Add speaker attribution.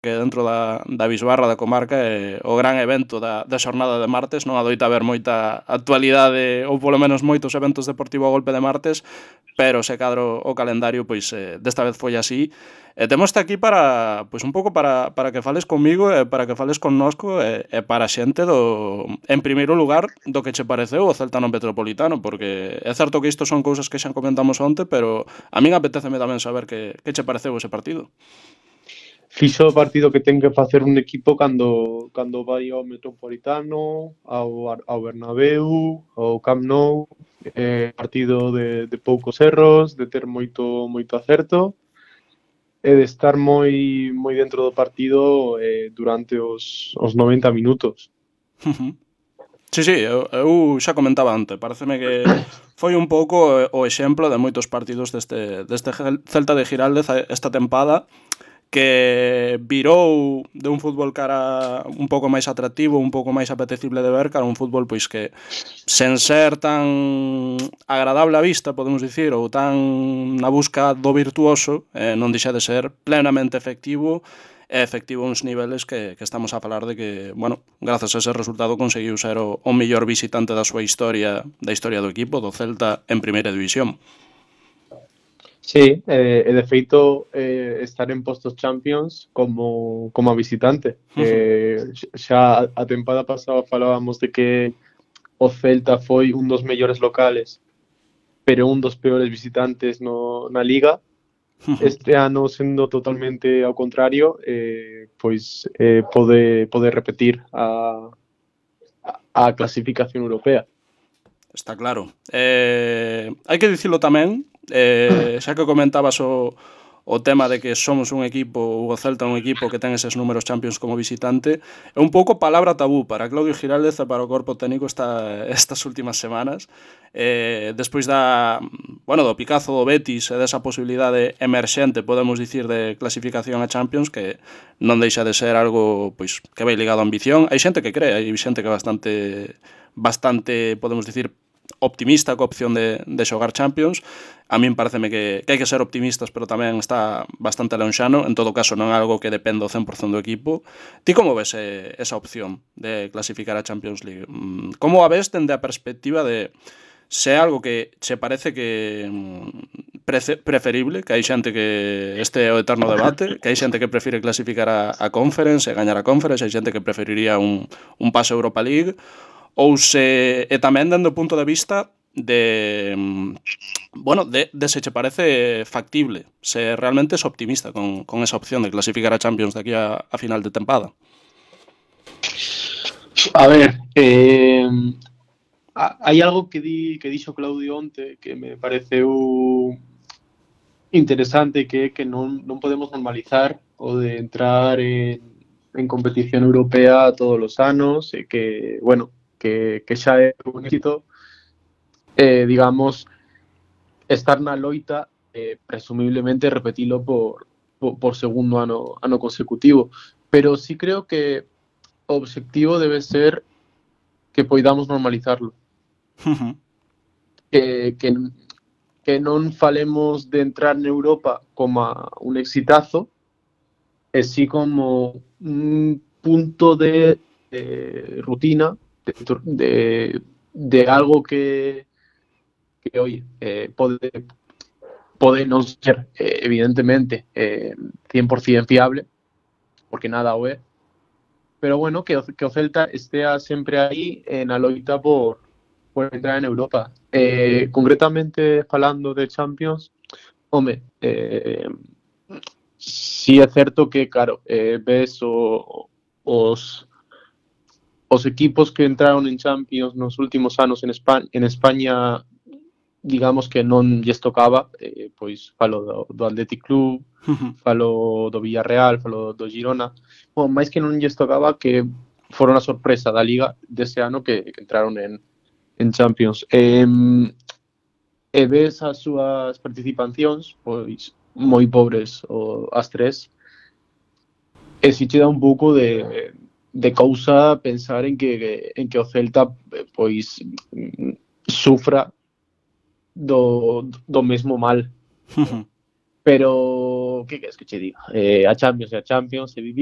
Speaker 1: que dentro da bisbarra da comarca é o gran evento da xornada de martes. Non adoita haber moita actualidade ou polo menos moitos eventos deportivos a golpe de martes, pero se cadro o calendario, pois desta vez foi así. E temos aquí para, pois un pouco para que fales comigo e para que fales connosco e para a xente en primeiro lugar, do que che pareceu o Celta no Metropolitano, porque é certo que isto son cousas que xa comentamos onte, pero a min apetéceme tamén saber que che pareceu ese partido.
Speaker 2: Fixo o partido que ten que facer un equipo cando vai ao Metropolitano, ao Bernabéu, ao Camp Nou, partido de poucos erros, de ter moito acerto e de estar moi dentro do partido durante os 90 minutos.
Speaker 1: Sí, eu xa comentaba antes, pareceme que foi un pouco o exemplo de moitos partidos deste Celta de Giraldez esta tempada, que virou de un fútbol cara un pouco máis atractivo, un pouco máis apetecible de ver, cara un fútbol pois que sen ser tan agradable á vista, podemos dicir, ou tan na busca do virtuoso, non deixa de ser plenamente efectivo e efectivo uns niveles que estamos a falar de que, bueno, grazas a ese resultado conseguiu ser o mellor visitante da súa historia, da historia do equipo, do Celta en primeira división.
Speaker 2: Sí, e de feito estar en postos Champions como a visitante. Xa a tempada pasada falábamos de que o Celta foi un dos mellores locales, pero un dos peores visitantes na Liga. Este ano, sendo totalmente ao contrario, pois pode repetir a clasificación europea.
Speaker 1: Está claro. Hai que dicilo tamén, xa que comentabas o tema de que somos un equipo, o Celta un equipo que ten eses números Champions como visitante, é un pouco palabra tabú para Claudio Giraldez e para o corpo técnico estas últimas semanas, despois do picazo do Betis e desa posibilidade emerxente, podemos dicir, de clasificación a Champions, que non deixa de ser algo pois que vai ligado á ambición. Hai xente que cree, hai xente que é bastante, podemos dicir, optimista coa opción de xogar Champions. A min pareceme que hai que ser optimistas, pero tamén está bastante lonxano. En todo caso, non é algo que dependa ao 100% do equipo. Ti como ves esa opción de clasificar a Champions League? Como a ves dende a perspectiva de se é algo que che parece que preferible, que hai xente que este é o eterno debate, que hai xente que prefire clasificar a Conference e gañar a Conference, hai xente que preferiría un paso a Europa League, ou se tamén dando o punto de vista de se che parece factible, se realmente es optimista con esa opción de clasificar a Champions de aquí a final de tempada.
Speaker 2: A ver, hai algo que dixo Claudio onte que me pareceu interesante, que é que non podemos normalizar o de entrar en competición europea todos os anos e que, bueno, que xa é un éxito, digamos, estar na loita, presumiblemente repetilo por segundo ano consecutivo. Pero sí creo que o obxectivo debe ser que poidamos normalizarlo. Que non falemos de entrar na Europa como un exitazo, e sí como un punto de rutina, de algo que oye, pode non ser evidentemente 100% fiable, porque nada o é, pero bueno, que o Celta estea sempre aí na loita por entrar en Europa. Concretamente falando de Champions, home, sí é certo que, claro, ves os equipos que entraron en Champions nos últimos anos en España, digamos que non lles tocaba, pois falo do Athletic Club, falo do Villarreal, falo do Girona, máis que non lles tocaba, que foron a sorpresa da Liga dese ano que entraron en Champions. E ves as súas participacións, pois moi pobres as tres, e si che dá un pouco de cousa pensar en que o Celta pois sufra do mesmo mal. Pero que queres que che diga? A Champions é a Champions, e vivilo